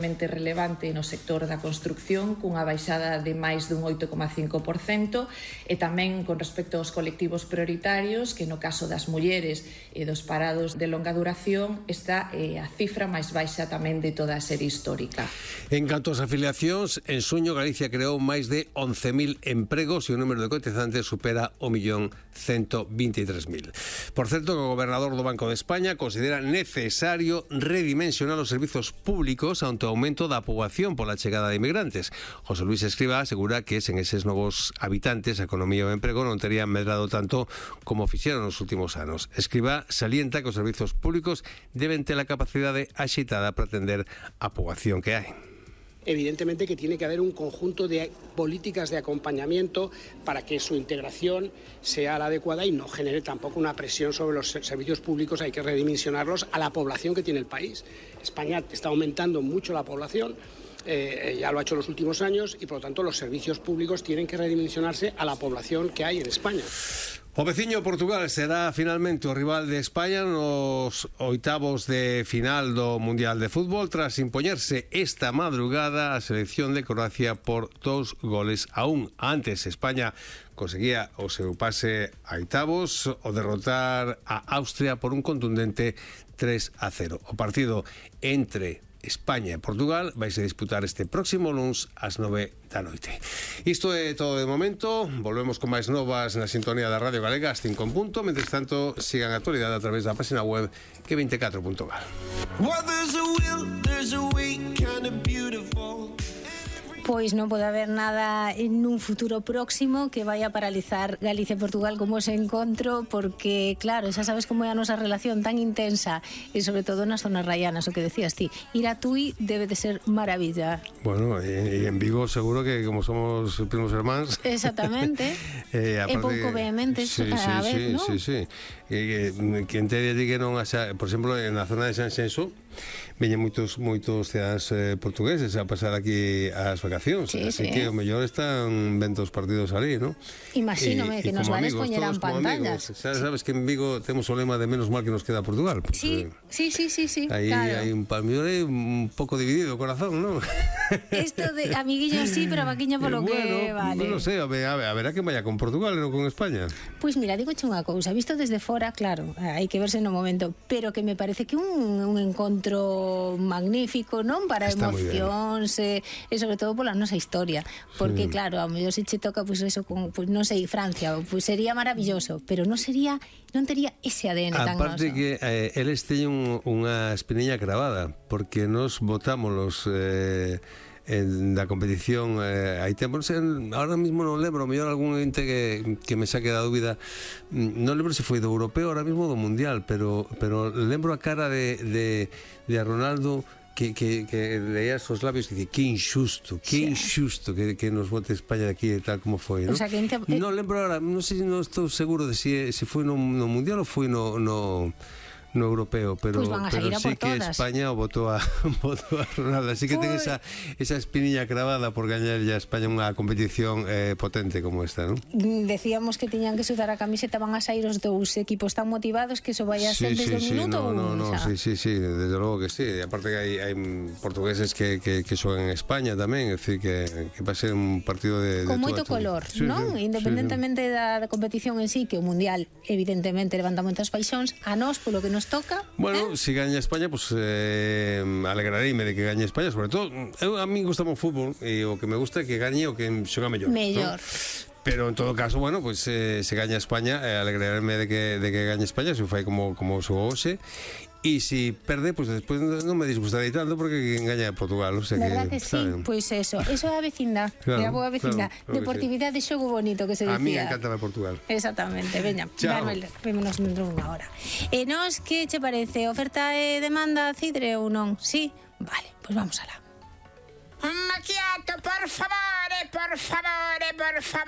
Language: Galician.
relevante no sector da construcción, cunha baixada de máis dun 8,5%, e tamén con respecto aos colectivos prioritarios, que no caso das mulleres e dos parados de longa duración está a cifra máis baixa tamén de toda a serie histórica. En canto ás afiliacións, en suño Galicia creou máis de 11.000 empregos e o número de cotizantes supera o 1.123.000. Por certo, que o gobernador do Banco de España considera necesario redimensionar os servizos públicos ante o aumento da poboación pola chegada de inmigrantes. José Luis Escrivá asegura que sen eses novos habitantes a economía e o emprego non terían medrado tanto como fixeron nos últimos anos. Escrivá salienta que os servizos públicos deben ter a capacidade axeitada para atender a poboación que hai. Evidentemente que tiene que haber un conjunto de políticas de acompañamiento para que su integración sea la adecuada y no genere tampoco una presión sobre los servicios públicos. Hay que redimensionarlos a la población que tiene el país. España está aumentando mucho la población, ya lo ha hecho en los últimos años, y por lo tanto los servicios públicos tienen que redimensionarse a la población que hay en España. O veciño Portugal será finalmente o rival de España nos oitavos de final do Mundial de Fútbol tras impoñerse esta madrugada a selección de Croacia por 2-1. Antes, España conseguía o seu pase a oitavos o derrotar a Austria por un contundente 3-0. O partido entre España e Portugal vaise disputar este próximo luns ás 9 da noite. Isto é todo de momento. Volvemos con máis novas na sintonía da Radio Galega ás 5 en punto. Mentres tanto, sigan a actualidade a través da página web que24.gal. Pois non pode haber nada en un futuro próximo que vaya a paralizar Galicia e Portugal como ese encontro, porque claro, xa sabes como é a nosa relación tan intensa e sobre todo nas zonas rayanas, o que decías ti, ir a Tui debe de ser maravilla. Bueno, e en Vigo seguro que como somos primos hermáns. Exactamente. E pouco vehementes a vez, non? Sí. Que en teoría di que non haxa, por exemplo, na zona de Sanxenxo veñen moitos cidadanos portugueses a pasar aquí as vacacións, así que o mellor están vendo os partidos ali, ¿no? Imagínome que nos van a expoñeran pantallas. Sabes que en Vigo temos o lema de menos mal que nos queda Portugal. Pues, sí. Aí claro. hai un palmiore un pouco dividido o corazón, ¿no? Esto de amiguillo sí, pero vaquiña polo que vale. Non sei, a verá que vaya con Portugal e non con España. Pois mira, digo unha cousa, visto desde fora, claro, hai que verse no momento, pero que me parece que un encontro magnífico, non? Para está emocións e sobre todo pola nosa historia, porque claro, ao mellor se che toca pois eso con, pois non sei, Francia, pois sería maravilloso, pero non tería ese ADN tan noso. Aparte que eles teñen unha espiniña cravada, porque nos votámolos da competición hai tempo, ahora mismo non lembro, mellor algún ente que me saque da dúbida, non lembro se foi do europeo, ahora mismo do mundial, pero lembro a cara de Ronaldo que leías os labios e dice que injusto que nos vote España aquí e tal como foi, non? O sea, non lembro ahora, non sei, non estou seguro de se foi no mundial ou foi no europeo, pero, pues sí que España votou a Ronaldo, así que ten esa espiniña cravada por gañar ya España unha competición potente como esta, ¿no? Decíamos que tiñan que sudar a camiseta, van a sair os dous equipos tan motivados que eso vai a ser desde o minuto sí, desde logo que sí, e aparte que hai portugueses que xogan en España tamén, é dicir que va a ser un partido de con moito color, non? Independentemente da competición en sí, que o mundial evidentemente levanta moitas paixóns, a nós polo que nos toca. Bueno, si gaña España, pues alegrareime de que gañe España, sobre todo, a mí gusta o fútbol e o que me gusta é que gañe o que xoga mellor. Mellor. ¿No? Pero en todo caso, bueno, pues se gaña España, alegrarme de que gañe España, se fai como xogou hoxe. E se perde, pues despois non me disgustaría tanto porque engaña a Portugal, o sea verdad que sí, ¿saben? Pois eso é a vecindad, é a boa vecindad, deportividade e xogo bonito que se dicía. A mí encanta Portugal. Exactamente, veña, vémonos dentro dunha hora. E nos, que che parece? Oferta e demanda Cidre ou non? Sí? Vale, pois vamos alá. Un macchiato, por favore, por favore, por favore.